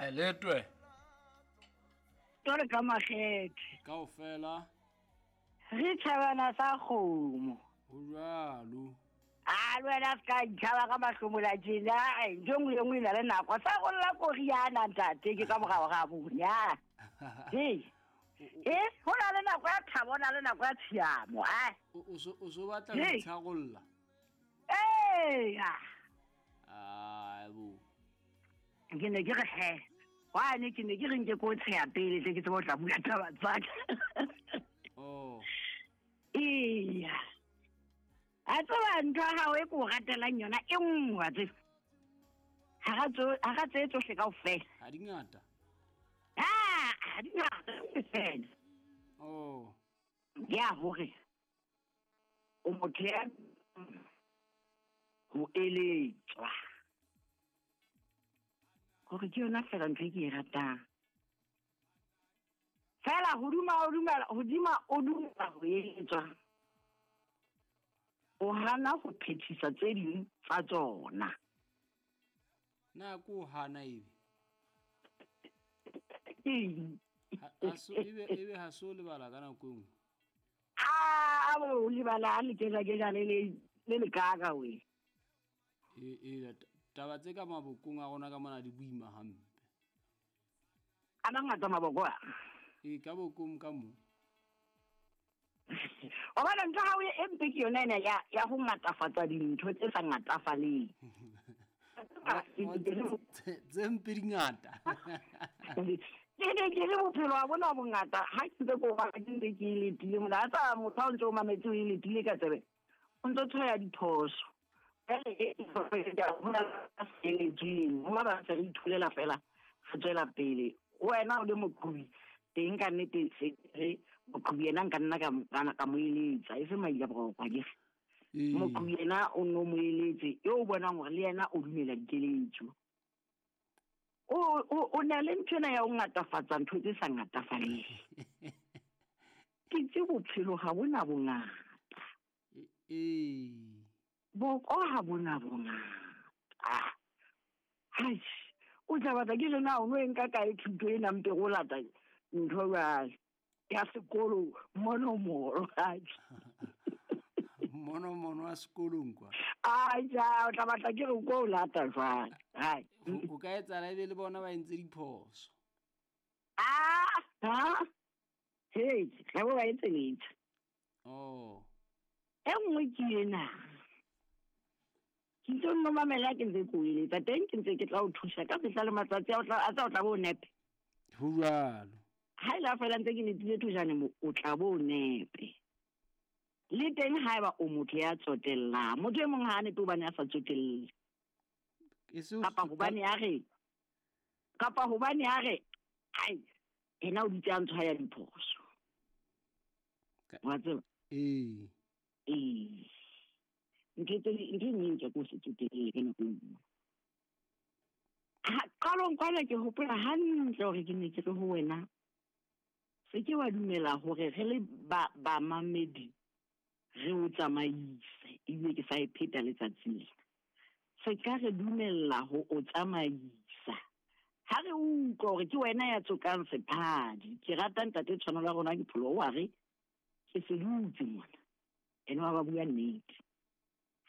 Letwe. Tore ka makgethe. Kaofela. Re tjhabana sa kgomo. Ho jwalo. A le wena se ka ntšhaba ka mahlomola tjena. Ai, ntho e nngwe le e nngwe e na le nako. Sa golla koriana ntate ke ka morao ga bonya. Hei. E, ho na le nako ya thabo, ho na le nako ya tshiamo. Ai. O so batla ho itsharolla. Ee. Ai bo. Ke ne ke re he. Wane ke ne ke re nke ko tsheya pele tle ke tsebe ho tla bua taba tsa ka. Oh. Eya. A tseba ntho ya hao e ko ratelang yona e nngwe wa tseba. Hara tse tsohle kaofela. Ha di ngata. Ah, ha di ngata fela. Oh. Ya hore o motho ya ho eletswa. Hore ke yona fela ntho e ke e ratang. Fela hodima o dumela, hodima o dumela ho eletswa. O hana ho phethisa tse ding tsa tsona. Na ko hana ebe? Eng? Ebe ha so lebala ka nako e nngwe. A bo lebala a lekejwa-kejwa le le le kaka we. E taba tse ka mabokong a rona ka mona di boima hampe. A mangata maboko a. E ka bokong ka mo. O bona ntho ha o e mpe ke yona ena ya ho ngatafatsa dintho tse sa ngatafaleng. Tse mpe di ngata. Ke ne ke le bophelo wa bona bongata ha ke ntse ke o bala ke ntse ke e letile mona. A tsa motho ha o ntse o mametse o e letile ka tsebe, o ntso tshwaya diphoso. Jwale e ho na le sebetseng, ho ba ba ntse re itholela fela, re tswela pele. Wena o le moqhobi teng ka nnete se re moqhobi yena nka nna ka mo eletsa, e se maila boroko akere. Moqhobi yena o nno mo eletse, eo o bonang hore le yena o dumela dikeletso. O na le ntho ena ya ho ngatafatsa ntho tse sa ngatafaleng. Ke itse bophelo ha bona bongata. Boko ha bona bongata. Hai, o tla batla ke re na o no e nka kae thuto ena mpe go lata ntho jwale ya sekolo monomoro. Monomono wa sekolong kwa. Ai ja, o tla batla ke re ko o lata jwale. Hai. O ka etsahala ebe le bona ba entse diphoso. Ah, ha? Hey, ga bo ba etse letho. Oh. E nngwe ke ena. Ke ntse nno mamela ke ntse ke o eletsa teng, ke ntse ke tla o thusa ka mehla le matsatsi a o tla, a tsa o tla bo o nepe. Ho jwalo. Ha ile fela ntse ke letile thojane mo, o tla bo o nepe. Le teng haeba o motho ya tsotellang, motho e mong ha a nepe hobane a sa tsotelle. Kapa hobane a re, kapa hobane a re, ai, ena o dutse a ntshwaya diphoso. Wa tseba? Ee. Ee. Ntho tse ntho e nngwe ke ko se tsotelle ka nako e nngwe. Ha qalong kwana ke hopola hantle hore ke ne ke re ho wena, se ke wa dumela hore re le bamamedi re o tsamaise, ebile ke sa e pheta letsatsi lena. Se ka re dumella ho o tsamaisa. Ha re utlwa hore ke wena ya tsokang sephadi, ke rata ntate tshwanelo ya rona ke pholo wa re ke se dutse mona. Ene wa ba bua nnete.